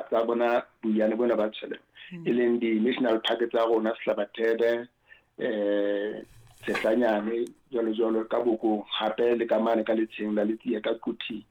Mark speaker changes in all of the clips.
Speaker 1: tsa bona boiyane bona ba tshwele, e leng di-national park tsa rona, Sehlabathebe, Tshehlanyane, jwalo jwalo, ka Bokong, hape le ka mane ka Letsheng la Letsia ka Quthing.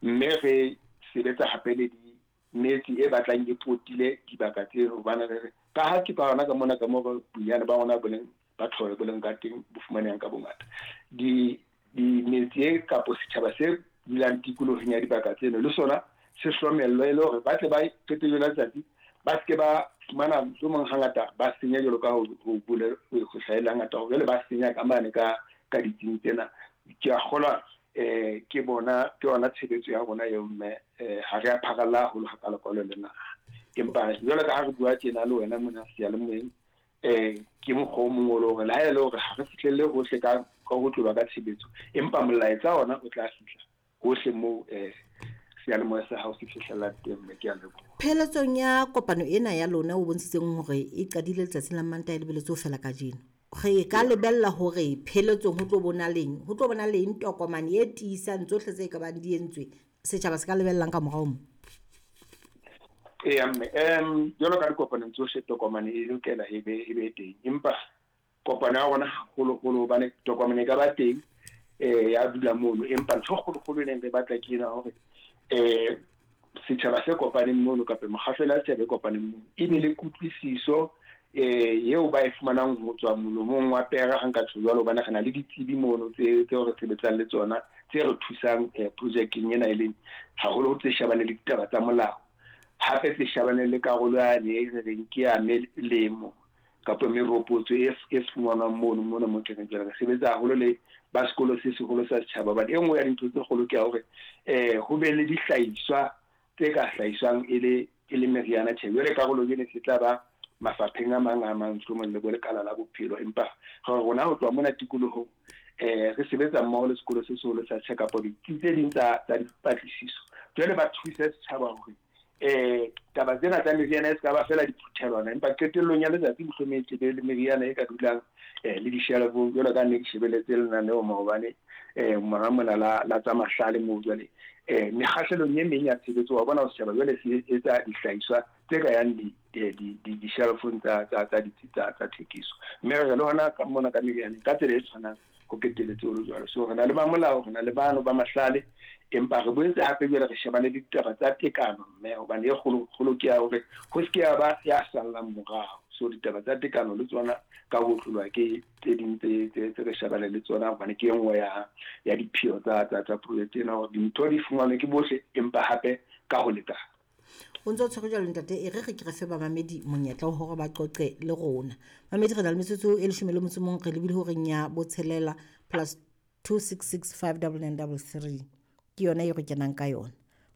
Speaker 1: Mme re sebetsa hape le di metse e batlang e potile dibaka tseo, hobane re re ka ha ke ka hona ka mona ka mo boiyane ba rona bo leng ba tlhole bo leng ka teng, bo fumanehang ka bongata. Di metse e kapo setjhaba se dulang tikolohong ya dibaka tseno le sona se hlomellwe, e le hore ba tle ba qetellong la letsatsi ba seke ba fumana mohlomong hangata ba senya, jwalo ka ho hlahella hangata hore jwale ba senya ka mane ka ditsing tsena. Ke a kgolwa ke bona ke yona tshebetso ya rona eo, mme ha re a pharalla haholo hakalo-kalo le naha. Empa jwalo ka ha re bua tjena le wena mona seyalemoyeng, ke mokgwa o mong o le hore le ha e le hore ha re fihlelle hohle ka ho tloba ka tshebetso, empa molaetsa ona o tla fihla hohle moo seyalemoya sa hao se fihlelang teng, mme ke a leboha.
Speaker 2: Pheletsong ya kopano ena ya lona o bontshitseng hore e qadile letsatsing la Mantaha e lebeletse ho fela kajeno, re ka lebella hore pheletsong ho tlo bona leng, ho tlo bona leng tokomane e tiisang tsohle tse ka bang di entswe, setjhaba se ka lebellang ka morao mo?
Speaker 1: Eya mme, jwalo ka dikopanong tsohle tokomane e lokela e be teng, empa kopano ya rona haholoholo hobane tokomane e ka ba teng ya dula mono, empa ntho e kgolokgolo e neng re batla ke ena hore setjhaba se kopaneng mono kapa mokgahlelo ya setjhaba e kopaneng mono e be le kutlwisiso eo ba e fumanang ho tswa molomong wa pera, ha nka tjho jwalo, hobane re na le ditsebi mono tseo re sebetsang le tsona tse re thusang projekeng ena, e leng haholo tse shebaneng le ditaba tsa molao, hape tse shebaneng le karolo yane e re reng ke ya melemo kapa meropotso e fumanwang mono mona mo keneng. Jwale re sebetsa haholo le ba sekolo se seholo sa setjhaba, hobane e nngwe ya dintho tse kgolo ke ya hore ho be le dihlahiswa tse ka hlahiswang e le meriana. Tjhe, jwale karolo ena se tla ba mafapheng a mang a mang, mohlomong le bo lekala la bophelo, empa rona ho tloha mona tikolohong re sebetsa mmoho le sekolo se seholo sa setjhaba kapa ditsi tse ding tsa dipatlisiso. Jwale ba thuse setjhaba hore taba tsena tsa meriana e se ka ba fela diphuthelwana, empa qetellong ya letsatsi mohlomong e tle le meriana e ka dulang le dishelofong, jwalo ka nne ke shebeletse lenaneo maobane mora mona la tsa mahlale moo. Jwale mekgahlelong e meng ya tshebetso wa bona setjhaba jwale se etsa dihlahiswa tse ka yang dishelofong tsa ditsi tsa thekiso, mme re le hona ka mona ka meriana ka tsela e tshwanang ho keteletse ho le jwalo. So re na le ba molao, re na le bano ba mahlale, empa re boetse hape jwale re shebane le ditaba tsa tekano, mme hobane e kgolo ke ya hore ho se ke ya ba ya sallang morao. So ditaba tsa tekano le tsona ka ho tlolwa ke tse ding tse re shebane le tsona, hobane ke e nngwe ya dipheo tsa project ena, hore dintho di fumanwe ke bohle empa hape ka ho lekana.
Speaker 2: O ntse o tshwere jwalo ntate, e re ke re fe bamamedi monyetla wa hore ba qoqe le rona. Mamedi, re na le metsotso e 11, re lebile horeng ya botshelela plus 266 59933 ke yona e re kenang ka yona,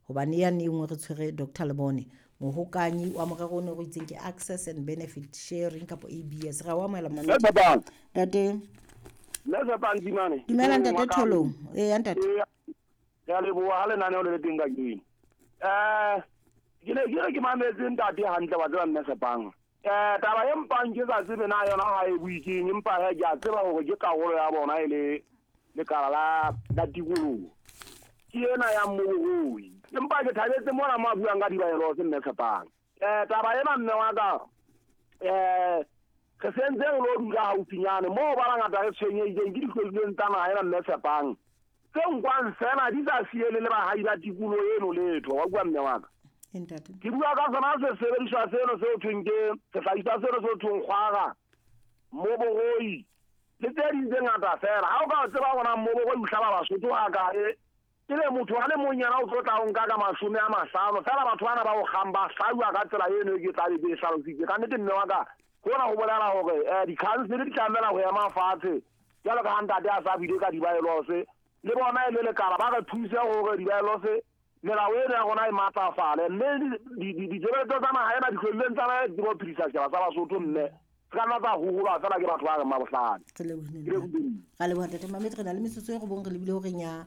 Speaker 2: hobane yane e nngwe re tshwere Dr. Lebone, mohokanyi wa morero o ne re itseng ke Access and Benefit Sharing kapa ABS. Re a o amohela mamedi. Ntate. Dumela ntate Tholong. Eya ntate.
Speaker 3: Re a leboha ha lenaneo le le teng kajeno. Ke ne ke re ke mametse ntate hantle, wa tseba mme Tshepang. Taba e mpang ke sa tsebe na yona ha e bue keng, empa he ke a tseba hore ke karolo ya bona e le lekala la tikoloho. Ke ena ya mmoboroi. Empa ke thabetse mona mo a buang ka dibaelose mme Tshepang. Taba ena mme wa ka, re sentse re lo dula haufinyane moo ba bangata re tshwenyehileng ke dihlodilweng tsa naha ena mme Tshepang. Tse nkwang fela di sa siele le baahi ba tikoloho eno letho, wa bua mme wa ka. Ke bua ka sona se sebediswa seno se ho thweng ke sehlahiswa seno se ho thweng kgwara, mmoboroi le tse ding tse ngata fela. Ha o ka tseba hore mmoboroi o hlaba Basotho ha kae, e le motho a le mong yena o tlo tla o nka ka 50 fela, batho bana ba o kgang ba hlauwa ka tsela eno e ke tla be ke e hlalositse. Ka nnete mme wa ka, hona ho bolela hore di-council di tlamela ho ema fatshe jwalo ka ha ntate a sa buile ka dibaelose, le bona e le lekala ba re thuse hore dibaelose melao eno ya rona e matlafale, mme ditshebeletso tsa naha ena dihlodilweng tsa naha di tsebe ho phedisa setjhaba sa Basotho, mme se ka nna tsa hoholwa fela ke batho ba reng mabohlale.
Speaker 2: Ra leboha ntate Mamedi, re na le metsotso e robong, re lebile horeng ya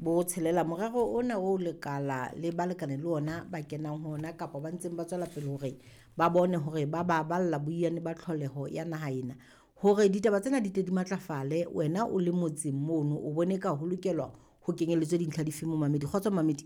Speaker 2: botshelela. Morero ona o lekala le balekane le ona ba kenang ho ona kapa ba ntseng ba tswela pele hore ba bone hore ba baballa boiyane ba tlholeho ya naha ena, hore ditaba tsena di tle di matlafale. Wena o le motseng mono o bone ka ho lokelwa ho kenyelletswe dintlha dife mo Mamedi? Kgotso Mamedi.